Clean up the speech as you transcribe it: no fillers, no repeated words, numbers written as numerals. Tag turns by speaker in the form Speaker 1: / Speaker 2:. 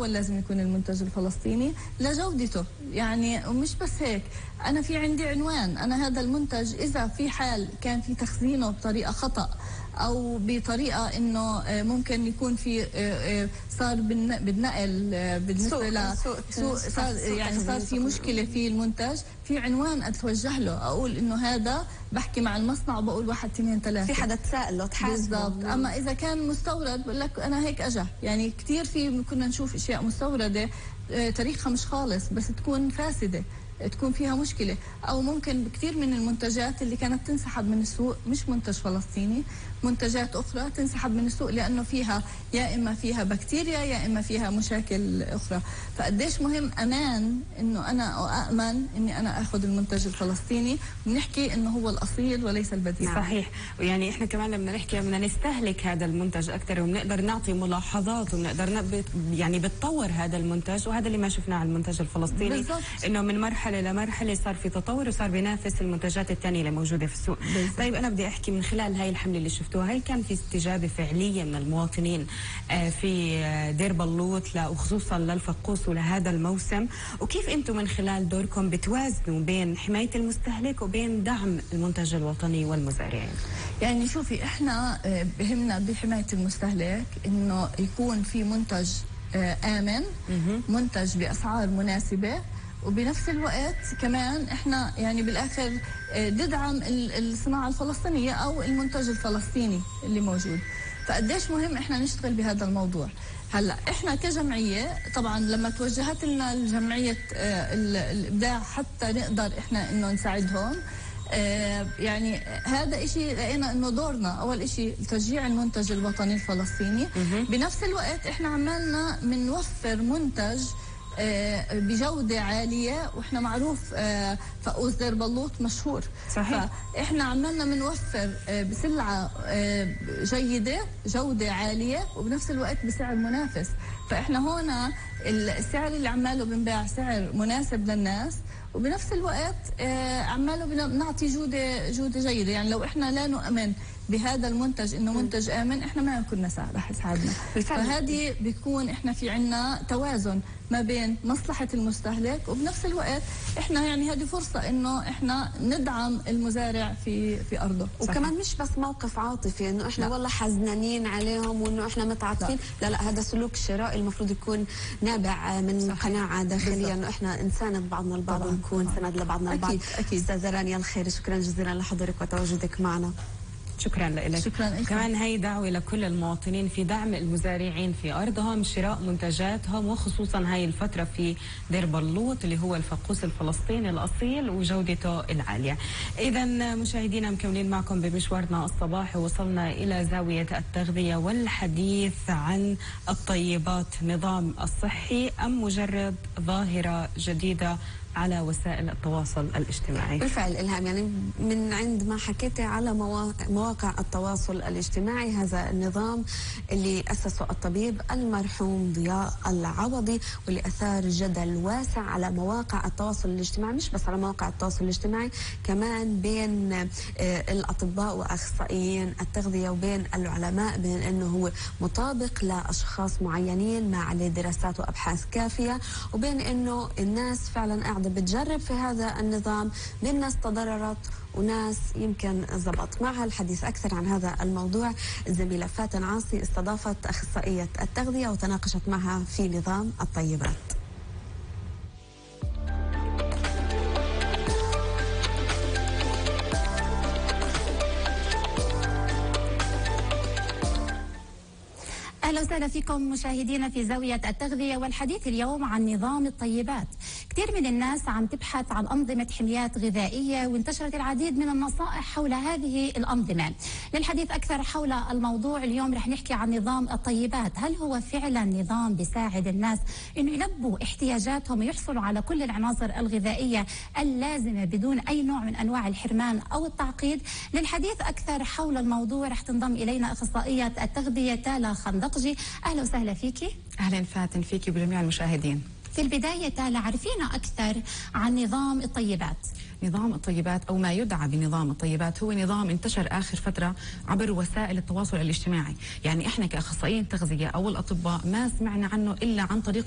Speaker 1: لازم يكون المنتج الفلسطيني لجودته. يعني ومش بس هيك، أنا في عندي عنوان، أنا هذا المنتج إذا في حال كان في تخزينه بطريقة خطأ أو بطريقة إنه ممكن يكون في صار بالنقل بالنسبة لسوء صار في مشكلة في المنتج، في عنوان أتوجه له أقول إنه هذا، بحكي مع المصنع وبقول 1 2 3
Speaker 2: في حدا تسائل له تحاسبه.
Speaker 1: بالضبط. أما إذا كان مستورد بقول لك أنا هيك أجا، يعني كتير في كنا نشوف أشياء مستوردة تاريخها مش خالص بس تكون فاسدة، تكون فيها مشكلة. أو ممكن كثير من المنتجات اللي كانت تنسحب من السوق مش منتج فلسطيني، منتجات أخرى تنسحب من السوق لأنه فيها يا إما فيها بكتيريا يا إما فيها مشاكل أخرى. فقديش مهم أمان إنه أنا أأمن إني أنا أخذ المنتج الفلسطيني، ونحكي إنه هو الأصيل وليس البديل.
Speaker 3: صحيح. ويعني إحنا كمان لما نحكي بدنا نستهلك هذا المنتج أكثر، وبنقدر نعطي ملاحظات، وبنقدر يعني بتطور هذا المنتج. وهذا اللي ما شفناه على المنتج الفلسطيني بالزبط. إنه من مرحلة لمرحلة صار في تطور وصار بينافس المنتجات الثانية اللي موجودة في السوق. طيب أنا بدي أحكي من خلال هاي الحملة اللي شفتوها، هل كان في استجابة فعلية من المواطنين في دير بلوط وخصوصا للفقوس ولهذا الموسم؟ وكيف أنتم من خلال دوركم بتوازنوا بين حماية المستهلك وبين دعم المنتج الوطني والمزارعين؟
Speaker 1: يعني شوفي، احنا بهمنا بحماية المستهلك انه يكون في منتج آمن، منتج بأسعار مناسبة، وبنفس الوقت كمان احنا يعني بالاخر ندعم الصناعه الفلسطينيه او المنتج الفلسطيني اللي موجود. فقديش مهم احنا نشتغل بهذا الموضوع. هلا احنا كجمعيه طبعا لما توجهت لنا الجمعيه الابداع حتى نقدر احنا انه نساعدهم، يعني هذا إشي لقينا انه دورنا اول إشي تشجيع المنتج الوطني الفلسطيني. بنفس الوقت احنا عمالنا بنوفر منتج بجودة عالية، واحنا معروف فقوس دير بلوط مشهور.
Speaker 3: صحيح.
Speaker 1: فاحنا عمالنا بنوفر بسلعة جيدة، جودة عالية، وبنفس الوقت بسعر منافس. فاحنا هون السعر اللي عماله بنباع سعر مناسب للناس، وبنفس الوقت عماله بنعطي جودة جيدة. يعني لو احنا لا نؤمن بهذا المنتج انه منتج امن، احنا ما كنا رح يساعدنا. فهذه بيكون احنا في عنا توازن ما بين مصلحة المستهلك، وبنفس الوقت احنا يعني هذه فرصة انه احنا ندعم المزارع في ارضه.
Speaker 2: وكمان مش بس موقف عاطفي انه احنا والله حزنانين عليهم وانه احنا متعاطفين، لا هذا سلوك شرائي المفروض يكون نابع من قناعة داخلية انه احنا نساند بعضنا البعض ونكون سند لبعضنا البعض.
Speaker 1: اكيد.
Speaker 2: استاذة رانيا الخير، شكرا جزيلا لحضورك وتواجدك معنا.
Speaker 3: شكرا لك.
Speaker 1: شكرا لك.
Speaker 3: كمان هي دعوة لكل المواطنين في دعم المزارعين في أرضهم، شراء منتجاتهم، وخصوصا هاي الفترة في دير بلوط اللي هو الفقوس الفلسطيني الأصيل وجودته العالية. إذا مشاهدينا مكملين معكم بمشوارنا الصباحي، وصلنا إلى زاوية التغذية والحديث عن الطيبات. نظام الصحي أم مجرد ظاهرة جديدة على وسائل التواصل الاجتماعي؟
Speaker 2: بالفعل إلهام، يعني من عند ما حكيتي على مواقع التواصل الاجتماعي، هذا النظام اللي أسسه الطبيب المرحوم ضياء العوضي، واللي أثار جدل واسع على مواقع التواصل الاجتماعي، مش بس على مواقع التواصل الاجتماعي، كمان بين الأطباء وأخصائيين التغذية وبين العلماء، بين أنه هو مطابق لأشخاص معينين ما عليه دراسات وأبحاث كافية، وبين أنه الناس فعلا قاعدة بتجرب في هذا النظام، بين ناس تضررت وناس يمكن زبط. معها الحديث أكثر عن هذا الموضوع الزميلة فاتن عاصي، استضافت أخصائية التغذية وتناقشت معها في نظام الطيبات.
Speaker 4: أهلا وسهلا فيكم مشاهدينا في زاوية التغذية، والحديث اليوم عن نظام الطيبات. كثير من الناس عم تبحث عن أنظمة حميات غذائية، وانتشرت العديد من النصائح حول هذه الأنظمة. للحديث أكثر حول الموضوع اليوم رح نحكي عن نظام الطيبات. هل هو فعلا نظام بيساعد الناس إنه يلبوا احتياجاتهم ويحصلوا على كل العناصر الغذائية اللازمة بدون أي نوع من أنواع الحرمان أو التعقيد؟ للحديث أكثر حول الموضوع رح تنضم إلينا أخصائية التغذية تالا خندقجي. أهلا وسهلا فيكي.
Speaker 5: أهلا فاتن فيكي وبجميع المشاهدين.
Speaker 4: في البداية تالا، عرفينا أكثر عن نظام الطيبات.
Speaker 5: نظام الطيبات أو ما يدعى بنظام الطيبات هو نظام انتشر آخر فترة عبر وسائل التواصل الاجتماعي. يعني إحنا كأخصائيين تغذية أو الأطباء ما سمعنا عنه إلا عن طريق